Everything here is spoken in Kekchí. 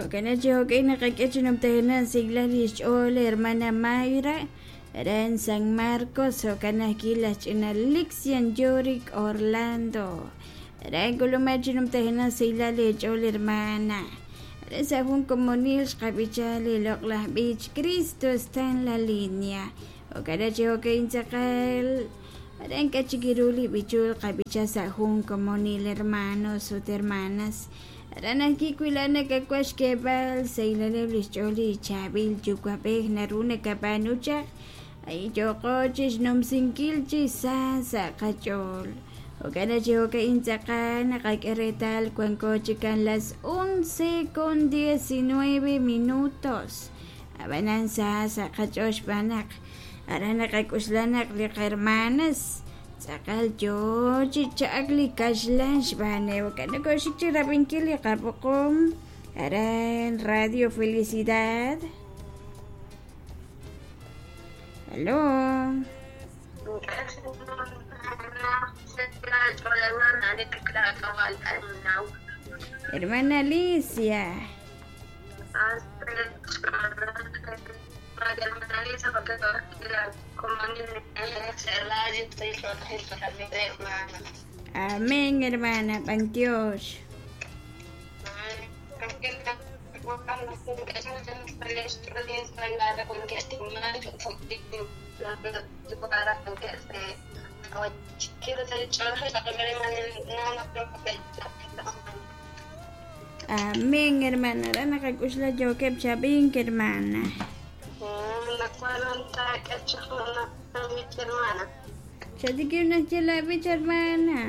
Jo'kan chi jo'kan naqak'e chi numtajenaq xsik'lal li xch'ool hermana Mayra aran San Marcos, jo'kan ajwi' laj ch'ina Lixian Yorick Orlando. Aran k'ulumaj chi numtajenaq xsik'lal li xch'ool hermana. Aran sa' jun komonil xqab'icha li loq'laj b'ich Cristo está en la línea. Jo'kan chi jo'kan tz'aqal aran k'a chik ru li b'ichul qab'icha sa' jun komonil hermanos ut hermanas. Aran ajwi' wi laa'at nakawaj xk'eeb'al xsahilaleb' li xch'ool li chaab'il yuwa'b'ej naru nakab'aanu chaq ay yooqo chixnumsinkil chi sa sa' qach'ool. Jo'kan chi jo'ka'in tz'aqal naqak'e reetal wanko chikan las 11:19 minutos. Ab'anan sa sa' qach'ool xb'aan naq aran naqak'oxla naq li qahermanas tz'aqal yoo chi cha'ak li kaxlan xb'aaneb'. Jo'kan nokoxik chi rab'inkil li qab'oqom aran Radio Felicidad. Aló. Hermana Alicia. Amén, hermana. B'antiox. Amén, hermana. Aran naqak'oxla yookeb' chab'ink, hermana. Chatikib' naxye la b'ich, hermana.